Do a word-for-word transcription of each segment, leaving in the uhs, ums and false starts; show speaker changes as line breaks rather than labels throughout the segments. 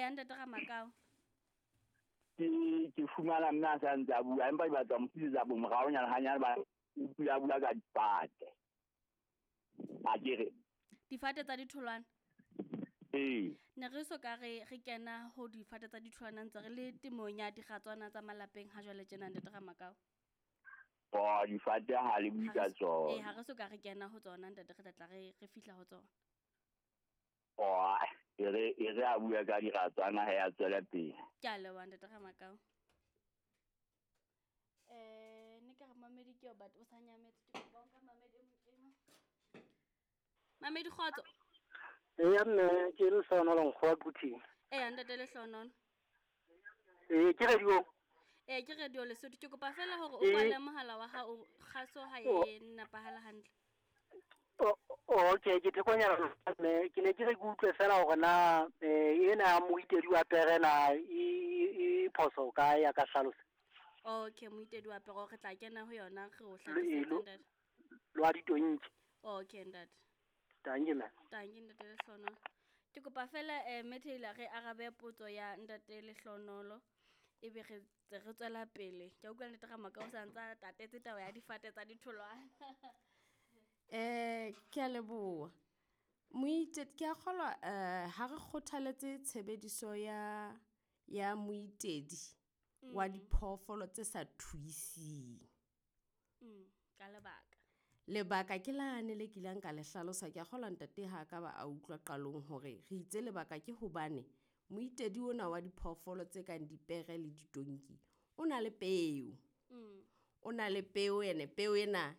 Eya, ntate Ramakao.
Ke ke fumana mme a sa ntse a bua, empa ke batla mo tlisetsa bomoraonyana hanyane ba o pula bua ka difate. A ke re
Difate tsa ditholwana.
Ee.
Ne re so ka re re kena ho difate tsa ditholwana, ntse re le temong ya diratswana tsa malapeng ha jwale tjena, ntate Ramakao.
Oh, difate ha le bue
Ha
ka
re so- ee,
tsona.
ha re so ka re kena ho tsona, ntate, re tla tla re re fihla ho tsona.
Oh, e re e re a bua ka diratswana ha ya tswela pele.
Ke a leboha, ntate Ramakao. Eh, ne ka re mamedi ke eo, but o sa nyametse. Ke kopa o nka mamedi e mong eno. Mamedi, kgotso.
Eya mme, ke Lehlohonolo Nkgowa Quthing.
Eya, ntate Lehlohonolo.
Ee, ke radio.
Ee, ke radio Lesotho. Ke kopa fela hore o
Ee.
kwale mohala wa hao, kgaso ha e nepahala hantle.
O- okay, ke thekonyana mme, ke ne ke re ke utlwe fela hore na eh ena ya moitedi wa pere na e e phoso kae, ya ka hlalosa.
Okay, moitedi wa pere, re tla kena ho yona, re o
Lo-
hlakisetse,
lo-
ntate.
Lo a ditonki.
Okay, ntate.
Tanki mme.
Tanki, ntate Lehlohonolo. Ke kopa fela eh mme Taylor re arabe potso ya ntate Lehlohonolo, ebe re tse re tswela pele. Ke a utlwa ntate Ramakao o sa ntsa tatetse taba ya difate tsa ditholwana.
Eh, ke a leboha. Moite ke a kgolwa eh ha re kgothaletse tshebediso ya ya moitedi wa diphoofolo tse sa thuising.
Mm, ka lebaka.
Lebaka ke lane le kileng ka le hlalosa, ke a kgolwa ntate ha ka ba a utlwa qalong hore re itse lebaka ke hobane moitedi ona wa diphoofolo tse kang dipere le ditonki o na le peo.
Mm.
O na le peo, ene peo ena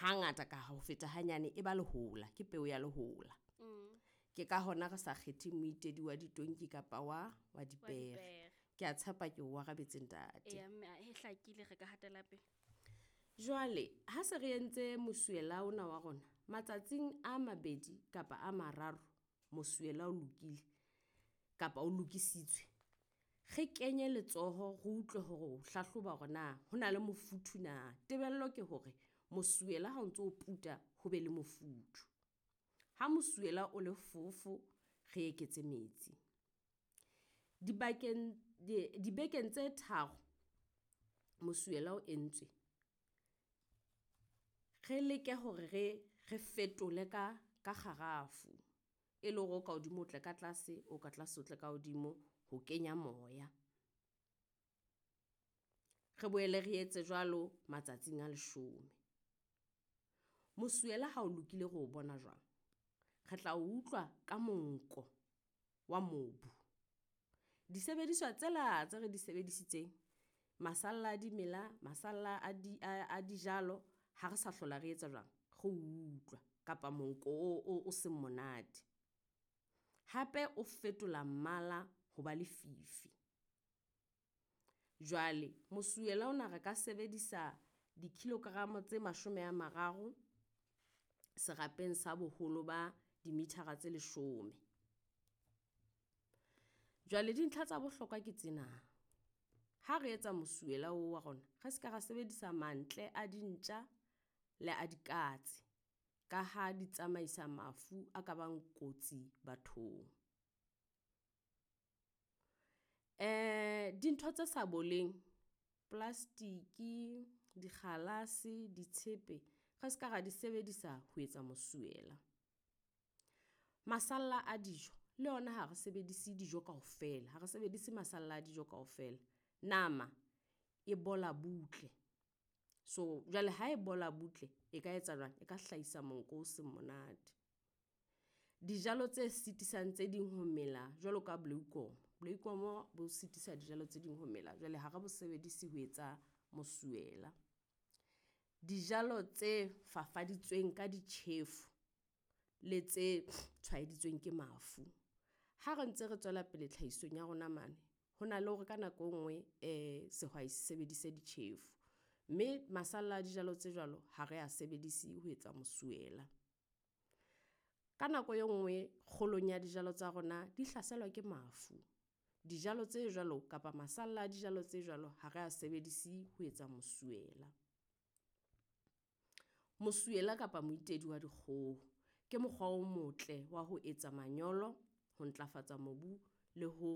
hangata ka ho feta hanyane e ba lehola, ke peo ya lehola.
Mm.
Ke ka hona re sa kgethe moitedi wa ditonki kapa wa wa
Wa
dipere.
dipere.
Ke a tshepa ke o arabetse, ntate.
Eya mme, e hlakile, re ka hatela pele.
Jwale ha se re entse mosuwela ona wa rona, matsatsing a mabedi kapa a mararo mosuwela o lokile kapa o lokisitswe, re kenye letsoho re utlwe hore o hlahloba hore na ho na le mofuthu na. Tebello ke hore mosuwela ha o ntso o puta ho be le mofuthu. Ha mosuwela o le fofo, re eketse metsi. Dibakeng di dibekeng tse tharo mosuwela o entswe, re leke hore re re fetole ka ka kgarafu, e le hore o ka hodimo o tle ka tlase, o ka tlase o tle ka hodimo ho kenya moya. Re boele re etse jwalo matsatsing a leshome. Mosuwela ha o lokile re o bona jwang? Re tla o utlwa ka monko wa mobu. Disebediswa tsela tse re di sebedisitseng, masalla a dimela, masalla a di a, a dijalo, ha re sa hlola re etsa jwang, re o utlwa kapa monko o, o, o seng monate. Hape o fetola mmala ho ba lefifi. Jwale mosuwela ona re ka sebedisa dikilogramo tse mashome a mararo serapeng sa boholo ba dimithara tse leshome. Jwale dintlha tsa bohlokwa ke tsena. Ha re etsa mosuwela oo wa rona, re ska ra sebedisa mantle a dintja le a dikatse, ka ha di tsamaisa mafu a ka bang kotsi bathong. Eh dintho tse sa boleng, plastiki, dikgalase, ditshepe, re ska ra di sebedisa ho etsa mosuwela. Masalla a dijo le ona ha re sebedise dijo kaofela, ha re sebedise masalla a dijo kaofela. Nama e bola butle. So jwale ha e bola butle e ka etsa jwang? E ka hlahisa monko o seng monate. Dijalo tse sitisang tse ding ho mela jwalo ka bloekom. Bloekom bo sitisa dijalo tse ding ho mela, jwale ha re bo sebedise ho etsa mosuwela. Dijalo tse fafaditsweng ka ditjhefu le tse tshwaeditsweng ke mafu. Ha re ntse re tswela pele tlhahisong ya rona mane, ho na le hore ka nako e nngwe eh sehwai se sebedise ditjhefu, mme masalla a dijalo tse jwalo ha re a sebedise ho etsa mosuwela. Ka nako e nngwe kgolong ya dijalo tsa rona di hlaselwa ke mafu. Dijalo tse jwalo kapa masalla a dijalo tse jwalo ha re a sebedise ho etsa mosuwela. Mosuwela kapa moitedi wa dikgoho ke mokgwa o motle wa ho etsa manyolo, ho ntlafatsa mobu le ho